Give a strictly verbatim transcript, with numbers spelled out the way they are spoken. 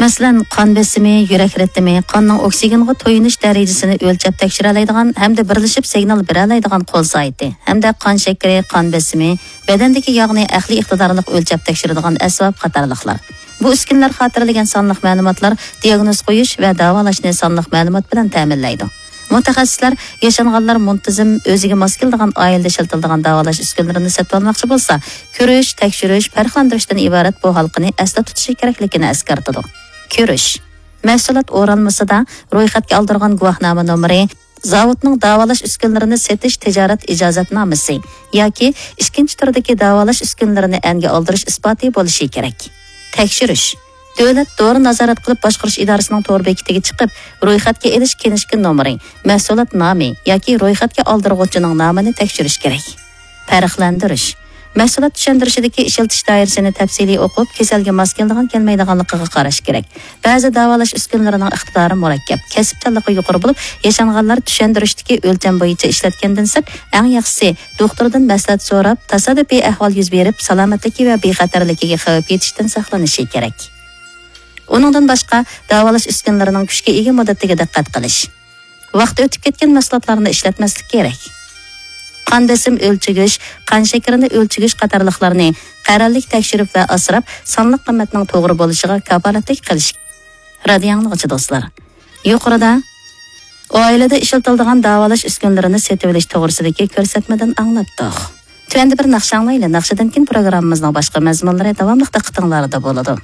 مەسىلەن، قان بېسىمى، يۈرەك رىتىمى، قاننىڭ ئوكسىگېنغا تويۇنۇش دەرىجىسىنى ئۆلچەپ تەكشۈرەلەيدىغان ھەمدە بىرلىشىپ سىگنال بېرەلەيدىغان قول سائىتى ھەمدە قان شەكىرى، قان بېسىمى، بەدەندىكى ياغنى ئەقلىي ئىقتىدارلىق ئۆلچەپ تەكشۈرىدىغان ئەسۋاب قاتارلىقلار. بۇ ئۈسكۈنىلەر خاتىرىلىگەن سانلىق مەلۇماتلار دىياگنوز قويۇش ۋە داۋالاشنى سانلىق مەلۇمات بىلەن تەمىنلەيدۇ. مۇتەخەسسىسلەر ياشانغانلار مۇنتىزىم، ئۆزىگە ماس كېلىدىغان، ئائىلىدە ئىشلىتىلىدىغان داۋالاش ئۈسكۈنىلىرىنى سېتىۋالماقچى بولسا، كۆرۈش، تەكشۈرۈش، پەرقلەندۈرۈشتىن ئىبارەت بۇ ھالقىنى ئەستە تۇتۇشى كېرەكلىكىنى ئەسكەرتىدۇ. كۆرۈش. مەھسۇلات ئورالمىسىدا رويخەتكە ئالدۇرغان گۇۋاھنامە نومۇرى، زاۋۇتنىڭ داۋالاش ئۈسكۈنىلىرىنى سېتىش تىجارەت ئىجازەتنامىسى ياكى ئىككىنچى تۈردىكى داۋالاش ئۈسكۈنىلىرىنى ئەنگە ئالدۇرۇش ئىسپاتى بولۇشى كېرەك. تەكشۈرۈش. دۆلەت دورا نازارەت قىلىپ باشقۇرۇش ئىدارىسىنىڭ تور بېكىتىگە چىقىپ، رويخەتكە ئېلىش كىنىشكا نومۇرى، مەھسۇلات نامى ياكى رويخەتكە ئالدۇرغۇچىنىڭ نامىنى تەكشۈرۈش كېرەك. پەرقلەندۈرۈش. مەھسۇلات چۈشەندۈرۈشىدىكى ئىشلىتىش دائىرىسىنى تەپسىلىي ئوقۇپ، كېسەلگە ماس كېلىدىغان كەلمەيدىغانلىقىغا قاراش كېرەك. بەزى داۋالاش ئۈسكۈنىلىرىنىڭ ئىقتىدارى مۇرەككەپ، كەسىپچانلىقى يۇقىرى بولۇپ، ياشانغانلار چۈشەندۈرۈشتىكى ئۆلچەم بويىچە ئىشلەتكەندىن سىرت، ئەڭ ياخشىسى دوختۇردىن مەسلىھەت سوراپ، تاسادىپىي ئەھۋال يۈز بېرىپ، سالامەتلىكى ۋە بىخەتەرلىكىگە خەۋپ يېتىشتىن ساقلىنىشى كېرەك. ئۇنىڭدىن باشقا، داۋالاش ئۈسكۈنىلىرىنىڭ كۈچكە ئىگە مۇددىتىگە دىققەت قىلىش. ۋاقتى ئۆتۈپ كەتكەن مەھسۇلاتلارنى ئىشلەتمەسلىك كېرەك. قان بېسىم ئۆلچىگۈچ، قان شېكىرىنى ئۆلچىگۈچ قاتارلىقلارنى قەرەللىك تەكشۈرۈپ ۋە ئاسراپ، سانلىق قىممەتنىڭ توغرا بولۇشىغا كاپالەتلىك قىلىش. رادىيو ئاڭلىغۇچى دوستلار، يۇقىرىدا ئائىلىدە ئىشلىتىلىدىغان داۋالاش ئۈسكۈنىلىرىنى سېتىۋېلىش توغرىسىدىكى كۆرسەتمىدىن ئاڭلاتتۇق. تۆۋەندە بىر ناخشا ئاڭلايلى، ناخشىدىن كېيىن پروگراممىمىزنىڭ باشقا مەزمۇنلىرى داۋاملىق دىققىتىڭلاردا بولىدۇ.